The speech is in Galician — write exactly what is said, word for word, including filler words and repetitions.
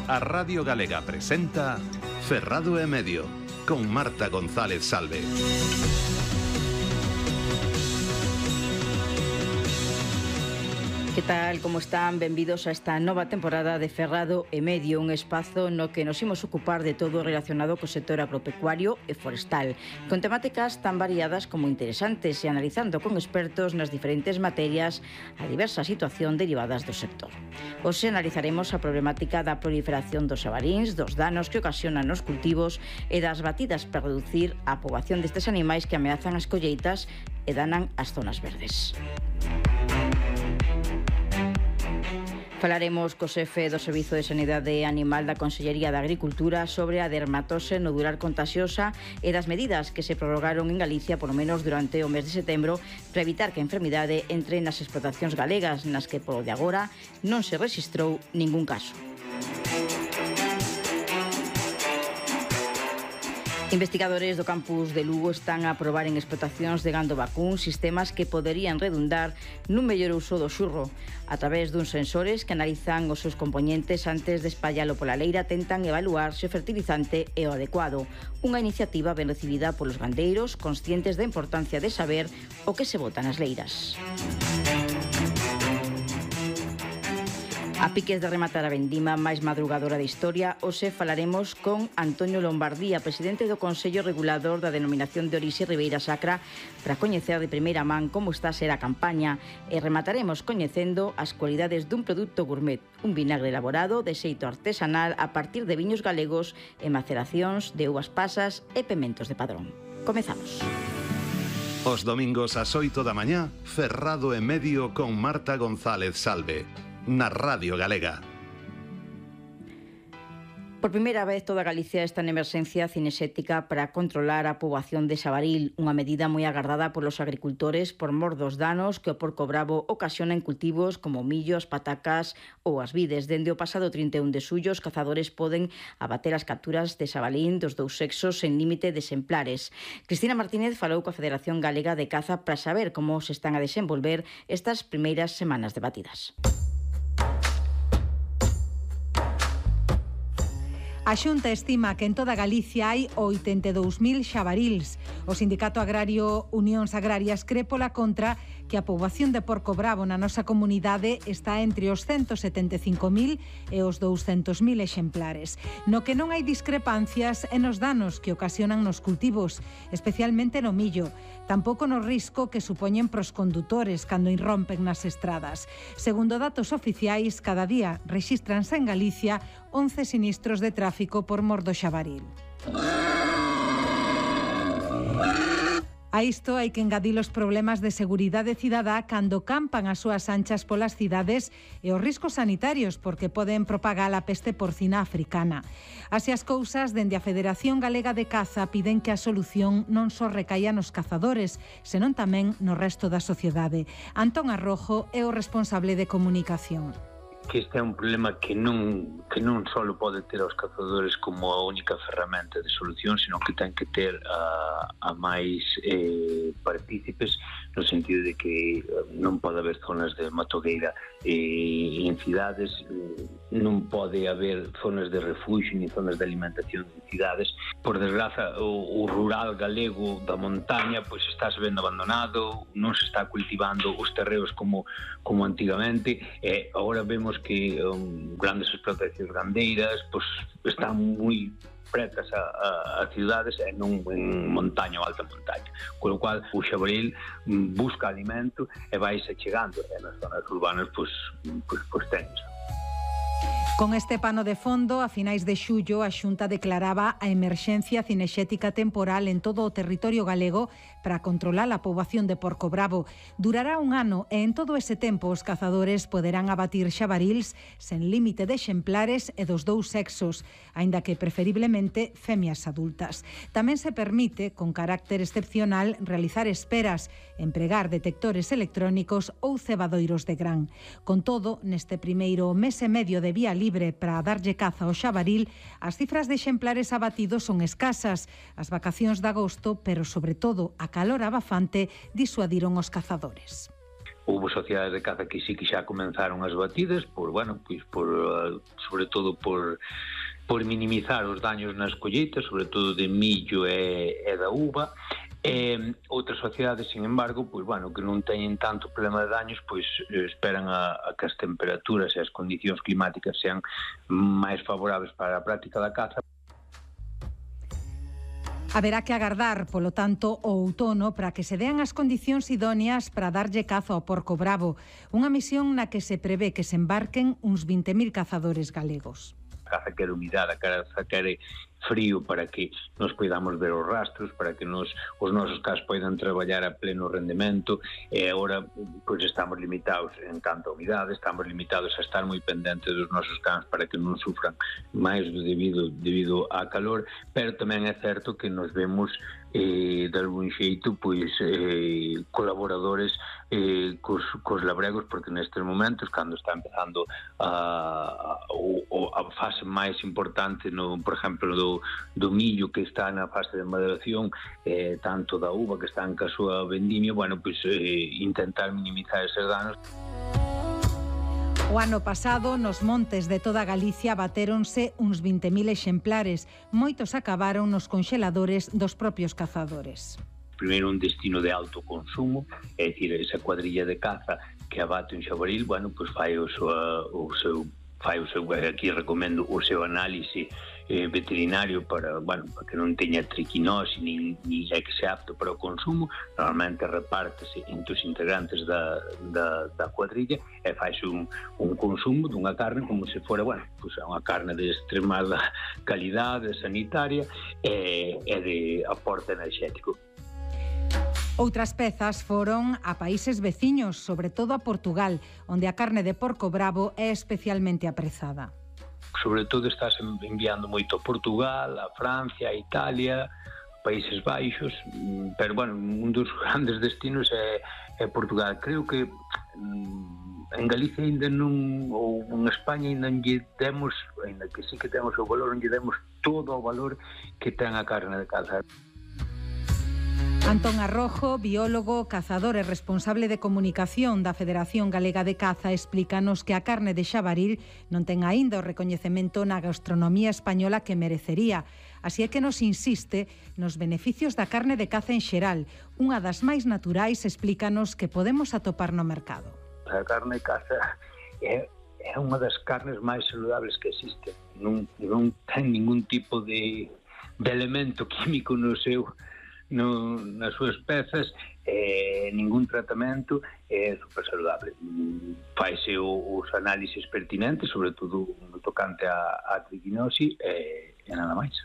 A Radio Galega presenta Ferrado e Medio, con Marta González Salve. Que tal, como están? Benvidos a esta nova temporada de Ferrado e Medio, un espazo no que nos imos ocupar de todo relacionado co sector agropecuario e forestal, con temáticas tan variadas como interesantes e analizando con expertos nas diferentes materias a diversa situación derivadas do sector. Hoxe analizaremos a problemática da proliferación dos xabaríns, dos danos que ocasionan nos cultivos e das batidas para reducir a poboación destes animais que ameazan as colleitas e danan as zonas verdes. Falaremos co xefe do Servizo de Sanidade Animal da Consellería de Agricultura sobre a dermatose nodular contagiosa e das medidas que se prorrogaron en Galicia polo menos durante o mes de setembro para evitar que a enfermidade entre nas explotacións galegas, nas que polo de agora non se rexistrou ningún caso. Investigadores do campus de Lugo están a probar en explotacións de gando vacún sistemas que poderían redundar nun mellor uso do xurro. A través duns sensores que analizan os seus componentes antes de espallalo pola leira, tentan evaluar se o fertilizante é o adecuado. Unha iniciativa ben recibida polos gandeiros, conscientes da importancia de saber o que se bota nas leiras. A piques de rematar a vendima máis madrugadora da historia, hoxe falaremos con Antonio Lombardía, presidente do Consello Regulador da Denominación de Orixe Ribeira Sacra, para coñecer de primeira man como está a ser a campaña, e remataremos coñecendo as cualidades dun produto gourmet, un vinagre elaborado de xeito artesanal a partir de viños galegos e maceracións de uvas pasas e pementos de Padrón. Comezamos. Os domingos ás oito da mañá, Ferrado e Medio con Marta González Salve, na Radio Galega. Por primeira vez toda Galicia está en emerxencia cinexética para controlar a poboación de xabaril, unha medida moi agardada polos agricultores por mor dos danos que o porco bravo ocasiona en cultivos como o millo, as patacas ou as vides. Dende o pasado trinta e un de xullo, os cazadores poden abater as capturas de xabalín dos dous sexos sen límite de exemplares. Cristina Martínez falou coa Federación Galega de Caza para saber como se están a desenvolver estas primeiras semanas de batidas. A Xunta estima que en toda Galicia hai oitenta e dous mil xabaríls. O Sindicato Agrario Unións Agrarias cre pola contra que a poboación de porco bravo na nosa comunidade está entre os ciento setenta e cinco mil e os douscentos mil exemplares. No que non hai discrepancias en os danos que ocasionan nos cultivos, especialmente no millo, tampouco no risco que supoñen pros condutores cando irrompen nas estradas. Segundo datos oficiais, cada día rexístranse en Galicia once sinistros de tráfico por mor do xabaril. A isto hai que engadir os problemas de seguridade cidadá cando campan as súas anchas polas cidades e os riscos sanitarios porque poden propagar a peste porcina africana. Así as cousas, dende a Federación Galega de Caza piden que a solución non só recaia nos cazadores, senón tamén no resto da sociedade. Antón Arrojo é o responsable de comunicación. Que este é un problema que non que non só pode ter aos cazadores como a única ferramenta de solución, sino que ten que ter a, a máis eh, partícipes, no sentido de que non pode haber zonas de matogueira eh, en cidades, non pode haber zonas de refuxio ni zonas de alimentación en cidades. Por desgraza, o, o rural galego da montaña pois está se vendo abandonado, non se está cultivando os terreos como, como antigamente, e agora vemos que um, grandes explotacións gandeiras pues, están moi pretas a, a, a cidades e non en montaña ou alta montaña, con o cual o xabaril um, busca alimento e vaise chegando, e nas zonas urbanas pues, pues, pues tens. Con este pano de fondo, a finais de xullo, a Xunta declaraba a emerxencia cinexética temporal en todo o territorio galego para controlar a poboación de porco bravo. Durará un ano e en todo ese tempo os cazadores poderán abatir xabaríls sen límite de exemplares e dos dous sexos, aínda que preferiblemente femias adultas. Tamén se permite, con carácter excepcional, realizar esperas, empregar detectores electrónicos ou cebadoiros de gran. Con todo, neste primeiro mes e medio de vía libre para darlle caza ao xabaril, as cifras de exemplares abatidos son escasas. As vacacións de agosto, pero sobre todo a calor abafante, disuadiron os cazadores. houve sociedades de caza que sí que xa comenzaron as batidas, por, bueno, pois por, sobre todo por, por minimizar os daños nas colleitas, sobre todo de millo e, e da uva. E outras sociedades, sin embargo, pois, bueno, que non teñen tanto problema de daños, pois esperan a, a que as temperaturas e as condicións climáticas sean máis favorables para a práctica da caza. Haberá que agardar, polo tanto, o outono para que se dean as condicións idóneas para darlle caza ao porco bravo, unha misión na que se prevé que se embarquen uns vinte mil cazadores galegos. A caza quere humidade, a caza quere frío para que nos podamos ver os rastros, para que nos, os nosos cas poidan traballar a pleno rendemento, e agora pois, estamos limitados en canto a humidade, estamos limitados a estar moi pendentes dos nosos cans para que non sufran máis do debido, debido a calor, pero tamén é certo que nos vemos eh, de algún xeito pois eh, colaboradores eh, cos, cos labregos, porque nestes momentos, cando está empezando a, a, a fase máis importante, no, por exemplo, do do millo que está na fase de maduración, eh, tanto da uva que está en ca súa vendimia, bueno, pois eh, intentar minimizar eses danos. O ano pasado, nos montes de toda Galicia batéronse uns vinte mil exemplares. Moitos acabaron nos conxeladores dos propios cazadores. Primeiro, un destino de alto consumo, é dicir, esa cuadrilla de caza que abate un xabaril, bueno, pois fai o seu, o seu fai o seu, aquí recomendo o seu análise eh, veterinario para, bueno, para que non teña triquinose ni, ni é que se apto para o consumo. Normalmente repártese entre os integrantes da, da, da cuadrilla e faise un, un consumo dunha carne como se fora, bueno, pues unha carne de extremada calidade sanitaria e, e de aporte enerxético. Outras pezas foron a países veciños, sobre todo a Portugal, onde a carne de porco bravo é especialmente aprezada. Sobre todo estás enviando moito a Portugal, a Francia, a Italia, Países Baixos, pero, bueno, un dos grandes destinos é, é Portugal. Creo que en Galicia ainda non, ou en España ainda non lle demos, ainda que sí que temos o valor, non lle demos todo o valor que ten a carne de caza. Antón Arrojo, biólogo, cazador e responsable de comunicación da Federación Galega de Caza, explícanos que a carne de xabaril non ten aínda o recoñecemento na gastronomía española que merecería. Así é que nos insiste nos beneficios da carne de caza en xeral, unha das máis naturais, explícanos, que podemos atopar no mercado. A carne de caza é, é unha das carnes máis saludables que existe. Non, non ten ningún tipo de, de elemento químico no seu No, nas súas pezas, eh, ningún tratamento, é super saludable. Faise os análises pertinentes, sobre todo no tocante a, a triquinose, e, e nada máis.